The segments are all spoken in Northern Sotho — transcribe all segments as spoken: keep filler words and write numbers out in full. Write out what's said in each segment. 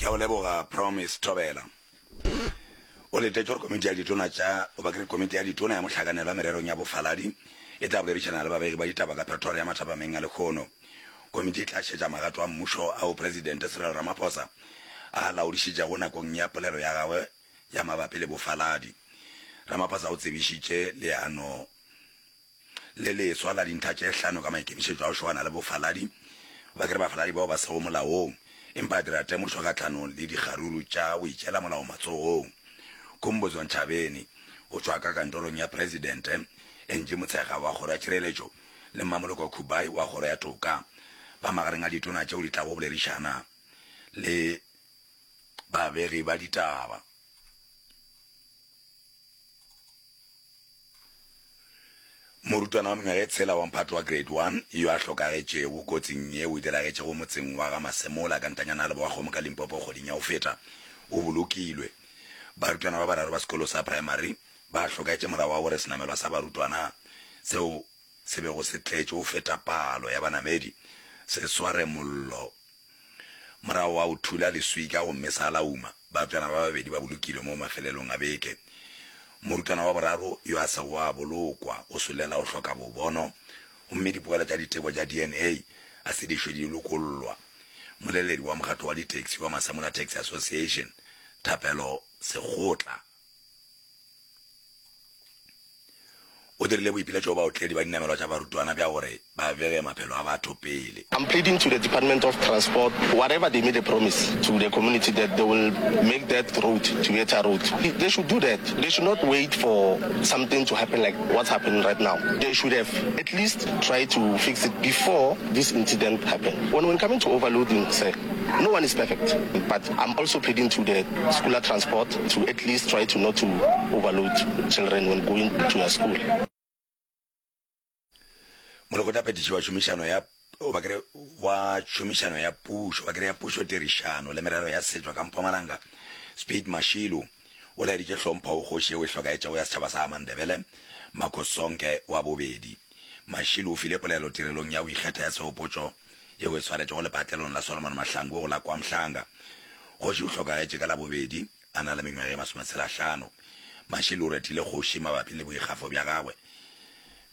Ke a go leboga Promise Thobela. O letetše gore komiti ya ditona tša goba ke re komiti ya ditona ya mohlakanelwa mererong ya bofaladi e tla boledišana le babegi ba ditaba ka Pretoria mathapameng a lehono. Komiti e tla šetša magato a mmušo ao Presidente Cyril Ramaphosa a a laodišitšego nakong ya polelo ya gagwe ya mabapi le bofaladi. Ramaphosa o tsebišitše leano le leswa la dintlha tše hlano ka maikemišetšo a go šogana le bofaladi ba ke re bafaladi bao ba sego molaong, empa a dira temošo kgahlanong le dikgaruru tša go itšeela molao matsogong. Khumbudzo Ntshavheni go tšwa ka kantorong ya Presidente, Angie Motshekga wa Kgoro ya Tšhireletšo le Mmamoloko Kubayi wa Kgoro ya Toka ba magareng a ditona tšeo di tlago boledišana le babegi ba ditaba. Morutwana wa mengwaga e tshela wa mphato wa Grade One yo a hlokagetšego kotsing yeo e diragetšego motseng wa ga Masemola ka ntanyana ya Lebowa-Kgomo ka Limpopo kgweding ya go feta o bolokilwe. Barutwana ba bararo ba sekolo sa primary ba hlokagetše morago ga gore senamelwa sa barutwana seo se bego se tletše go feta palo ya banamedi se sware mollo Morago wa go thula leswika gomme sa lauma, barutwana ba babedi ba bolokilwe mo mafelelong a beke. Morutwana wa boraro yo a sego a bolokwa o solela go hloka bobono gomme dipoelo tša diteko tša D N A a se di šwe di lokollwa. Moleledi wa mokgatlo wa ditaxi wa Masemola Taxi Association, Thapelo Sekgotla, O dirile boipiletšo go baotledi ba dinamelwa tša barutwana bja gore ba bege maphelo a batho pele. I'm pleading to the Department of Transport, whatever they made a promise to the community that they will make that road to be a tar road, they should do that. They should not wait for something to happen like what's happening right now. They should have at least tried to fix it before this incident happened. When, when coming to overloading, sir, no one is perfect, but I'm also pleading to the schooler transport to at least try to not to overload children when going to their school. Molekgotlaphethiši wa tšhomišano ya ba kere wa tšhomišano ya pušo ba kere ya pušo tirišano le merero ya setšo ka Mpumalanga Speed Mashilo o laeditše hlompho go kgoši yeo e hlokaetšego ya setšhaba sa Amandebele Makhosonke wa bobedi. Mashilo o file polelo tirelong ya go ikgetha ya sehopotšo yeo e swaretšego lepatlelong la Solomon Mahlangu go la KwaMhlanga. Kgoši o hlokagetše ka Labobedi a na le mengwaga e masometshela-hlano. Mashilo o retile kgoši mabapi le boikgafo bja gagwe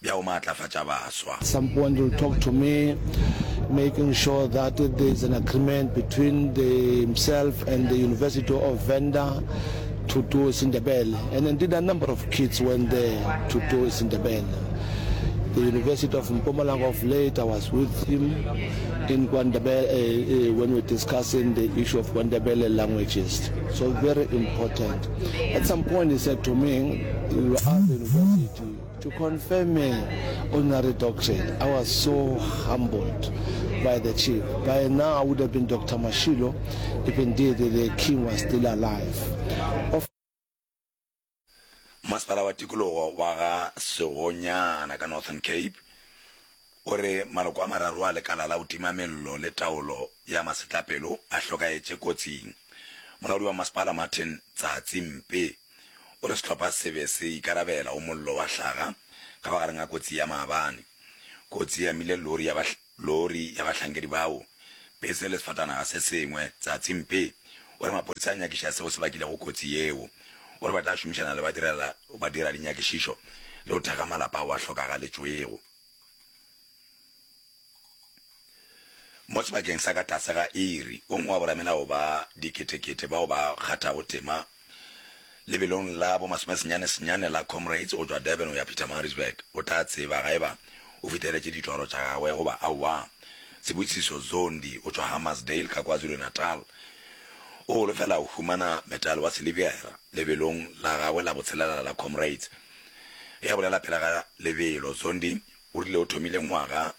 bja go maatlafatša baswa. Some point will talk to me making sure that there is an agreement between the himself and the University of Venda to do isiNdebele and indeed a number of kids went there to do isiNdebele. The University of Mpumalanga of late, I was with him in KwaNdebele, uh, uh, when we were discussing the issue of KwaNdebele languages. So very important. At some point he said to me, you ask the university to confirm me honorary doctorate. I was so humbled by the chief. By now I would have been Doctor Mashilo if indeed the king was still alive. Of Masepala wa tikologo wa ga Segonyana ka Northern Cape o re maloko a mararo a lekala la go tima mello le taolo ya masetlapelo a hlokaetše kotsing. Molaodi wa masepala Martin Tsatsi Mpe o re sehlopha se be se ikarabela go mollo wa hlaga ka magareng a kotsi ya maabane. Kotsi e amile lori ya Lori ya bahlankedi bao, pese le sefatanaga se sengwe. Tsatsi Mpe o re maphodisa a nyakiša seo se bakilego kotsi yeo. O re ba tla šomišana le badiradinyakišišo le go thekga malapa ao a hlokagaletšwego. Mo sebakeng sa ka tlase ga iri, o mongwe wa boramelao ba diketekete bao ba kgathago tema lebelong la bomasomesenyane-senyane la Comrades go tšwa Durban go ya Pietermaritzburg o tla tseba ga eba o fihleletše ditoro tša gagwe goba aowa. Sibusiso Zondi o tšwa Hammarsdale ka KwaZulu-Natal o holofela go humana metale wa silibera lebelong la gagwe la botshelela la Comrades. Ge a bolela pele ga lebelo, Zondi o rile o thomile ngwaga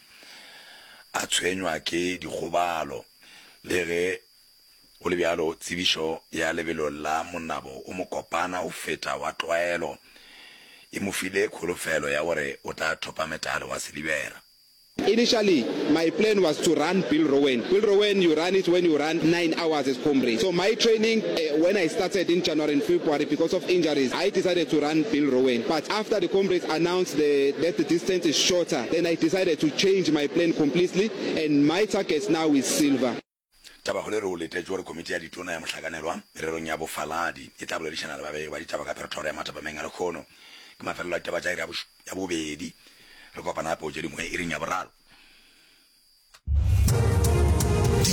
a tshwenywa ke dikgobalo le ge Go le bjalo, tsebišo ya lebelo la monabo o mokopana go feta wa tlwaelo e mo file kholofelo ya gore o tla thopa metale wa silibera. Initially, my plan was to run Bill Rowan. Bill Rowan, you run it when you run nine hours as Comrades. So my training, uh, when I started in January and February, because of injuries, I decided to run Bill Rowan. But after the Comrades announced the, that the distance is shorter, then I decided to change my plan completely, and my target now is silver. Tabakgolo e re o letetše gore komiti ya ditona ya mohlakanelwa mererong ya bofaladi e tla boledišana le babegi ba ditaba ka Pretoria mathapameng a lekgono. Ke mafelelo a ditaba tša iri ya bobedi. Re kopana gape go tše dingwe iring ya boraro.